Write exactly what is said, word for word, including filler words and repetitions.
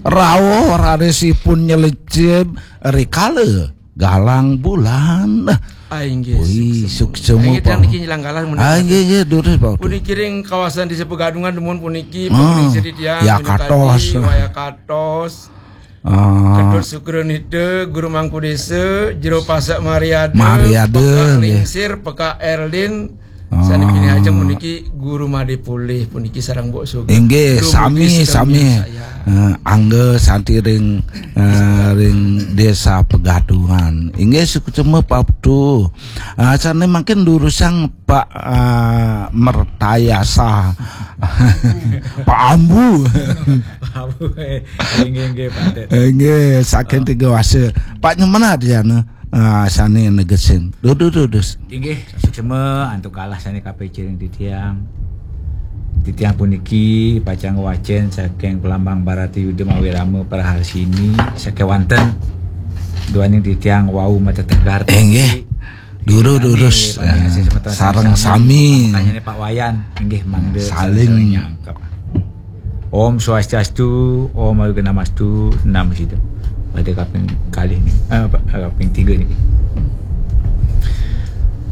Rawuh rarisipun nyelecep rikala galang bulan. Ah, inggih. Wih, suksema. Inggih, Pak. Niki nyelang galang menika. Ah, inggih, inggih, durus, Pak. Puniki ring kawasan Desa Pegadungan, dumun puniki, ah, pemirsa titiang, ya, minangkadi katos. Wayah katos. Ah. Ketut Sukranita, Guru Mangku Desa, Jero Pasak Mariada, Mariada, Pekak, nggih. Lingsir, Pekak Erlin, ah, sané pinih ajeng puniki Guru Madé Pulih puniki sareng Mbok Sugeng. Inggih, dumugi sami, sedaya sami. Saya. Eh, angga santi ring, eh, ring Desa Pegadungan. Inggih, suksema Pak Putu. Eh, sané mangkin durusang Pak, eh, Mertayasa. Pak Ambu. Pak Ambu, eh, inggih, inggih, Pak Dek. Inggih, saking Tiga Wasa. Pak Nyemenat ya, nah. Ah, sané negesin. Duh, duh, duh, dus. Inggih, suksema antuk kalah sané kapicing titiang. Titiang puniki pacang wacén saking Pelambang Bharatayuda mawi Rama Praharsini sakéwanten duaning titiang wau matetegar. Inggih. Duru durus, eh, sareng sami. Tanyane Pak Wayan, inggih mangda saling nyangkep. Om Swastiastu, Om Awighnamastu, Namo Siddham. Pada kaping kalih niki, eh, kaping tiga niki.